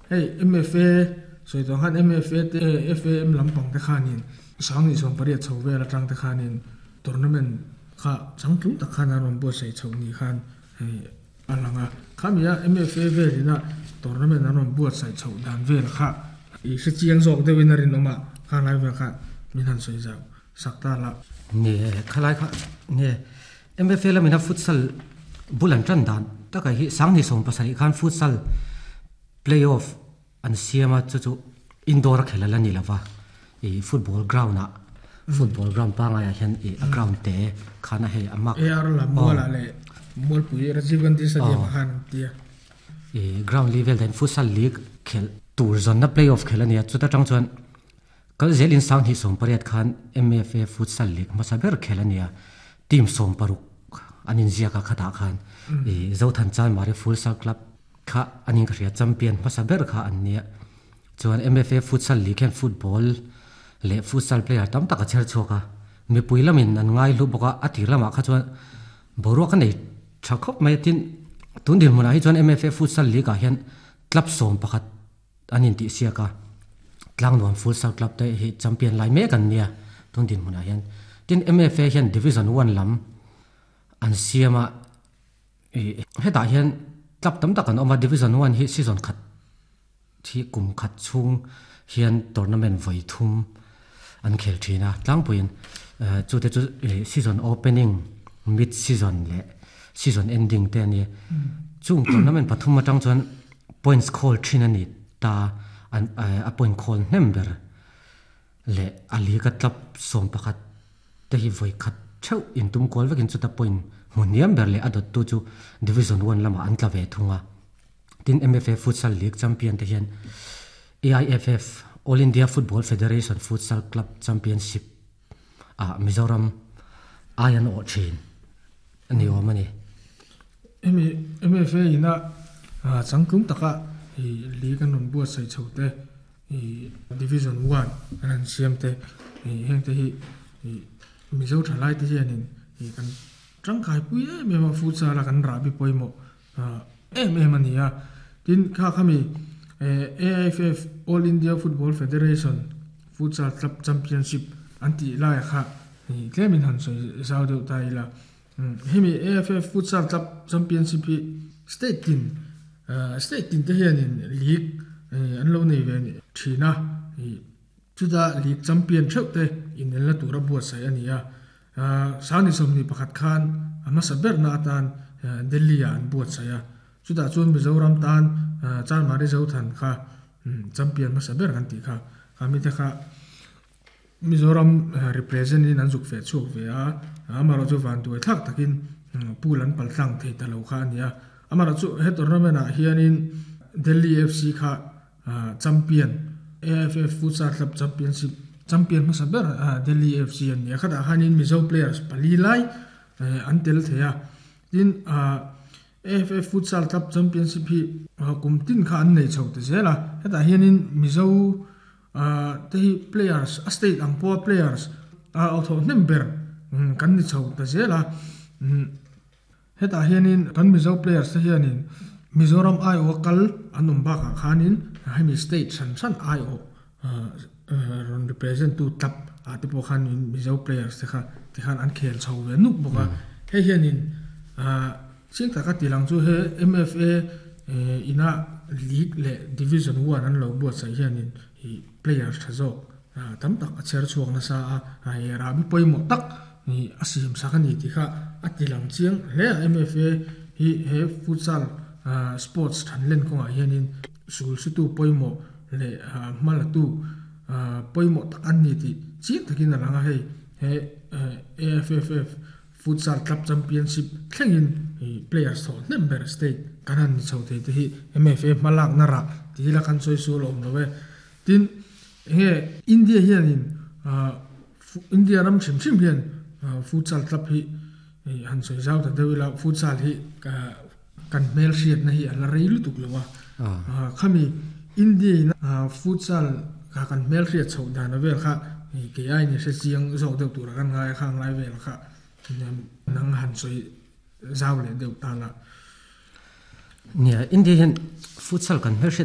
Hei MFA sawi tawh ang khan MFA te FAM lampang te khanin Sanghnih 18 chho vel atang te khanin tournament kha changtlung tak khan an rawn buatsaih chhoh ni khan hei a lang a. Khami a MFA velina tournament an rawn buatsaih chhoh dan vel kha i hre chiang zawk deuhin a rinawm a, kha lai vel kha min han sawi zau sak ta la. Nge khalai kha nge MFA lamina futsal bul an tan dan takah hi Sanghnih 17 khan futsal play-off an siam a, chu chu indoor a khelh a la ni lova, ih football ground ah football ground pangaiah hian ih a ground te khan a hei a mak AR lam mualah leh Mualpui Rajiv Gandhi Stadium ah khan an ti a. Ih ground level hian futsal league khelh tur zawnna play-off khelh a ni a, chuta tang chuan kal zelin Sanghnih 18 khan MFA futsal league hmasa ber khelh a ni a, team 16 an inziak a khatah khan ih Zothan Chanmari Futsal Club Kha an in ka hria champion hmasa ber kha an nia. Chuan MFA Futsal League hian football leh futsal player tam tak a chher chhuak a. Mipui lamin an ngai hlu bawk a, a tir lamah kha chuan boruak a nei tha khawp mai a. Tin, tun dinhmunah hi chuan MFA Futsal League ah hian club 11 an intihsiak a. Tlangnuam Futsal Club te hi champion lai mek an nia tun dinhmunah hian. Tin, MFA hian Division One lam an siam a. Ih hetah hian club tam tak an awm a, Division One hi season khat hi kum khat chhung hian tournament vawi thum an khel thin a, tlangpuiin chute chu season opening, mid season leh season ending te a ni. Chung tournament pathum atang chuan points khawl thin a ni ta, a point khawl hnem ber leh a league a club 11 te hi vawi khat theuh intum kual vekin chuta point hmu hniam ber leh a dawttu chu Division One lamah an tla ve thung a. Tin, MFA Futsal League champion te hian AIFF, All India Football Federation Futsal Club Championship ah Mizoram ai an awh thin a ni awm a ni. Hemi MFA ina changtlung taka league an rawn buatsaih chho te Ih Division One an han siam te ih heng te hi ih Mizo thalai te hianin ih kan tangkai pui em em a futsal a kan rahbi pawimawh ah em em a ni a. Tin kha khami eh AIFF All India Football Federation Futsal Club Championship an tih laiah kha ih tlemin han sawi zau deuh ta ila. Hemi AFF Futsal Club Championship hi state tin state tin te hianin league an lo nei ve thin a, chuta league champion theuh te inelna tura buatsaih a ni a. Sangni 21 khan a hmasa berna atan Delhi ah an buatsaih a, chutah chuan Mizoram tan Chanmari Zothan kha champion hmasa ber kan tih kha, khami te kha Mizoram represent in an zuk feh chhuak ve a, amaherawh chu vanduai thlak takin pool an pal tlang thei ta lo kha a ni a. Amaherawh chu he tournament ah hianin Delhi FC kha champion, AIFF Futsal Club Championship champion hmasa ber Delhi FC an ni a, khatah khanin Mizo players pali lai an tel thei a. Tin, AFF Futsal Club Championship hi kum tin kha an nei chho ta zel a, hetah hianin Mizo te hi players a state ang pawha players a awthawh hnem ber kan ni chho ta zel a. Hetah hianin kan Mizo players te hianin Mizoram aiawha kal an awm bakah khanin hemi state hran hran aiawh rawn represent tu club ah te pawh khan Mizo players te kha tikhan an khel chho ve nuk bawk a. Hei hianin chiang taka ti lang chu he MFA ina league leh division one an lo buatsaih hianin ih players tha zawk tam tak a chher chhuak nasa a, hei rahbi pawimawh tak a siam sak a ni tih kha a ti lang chiang hle a. MFA hi he futsal sports thanlen kawngah hianin sul sutu pawimawh leh hmalatu pawimawh tak an ni tih chiang takin a lang a, hei he AFFF Futsal Club Championship thlengin players thawh hnem ber state kan han ni chho thei te hi MFA hmalakna rah tih hi la kan sawi sual awm lo e. Tin, enge India hianin India ram hrim hrim hian Futsal Club hi han sawi zau ta deuh ila Futsal hi kan hmel hriatna hi a la rei lutuk lo a. Khami India in Futsal kha kan hmel hriat chhoh dan a vel kha kei aiin i hre chiang zawk deuh tura kan ngai a khang lai vel kha nang han sawi zau leh deuh ta la. Nia, India hian Futsal kan hmel hriat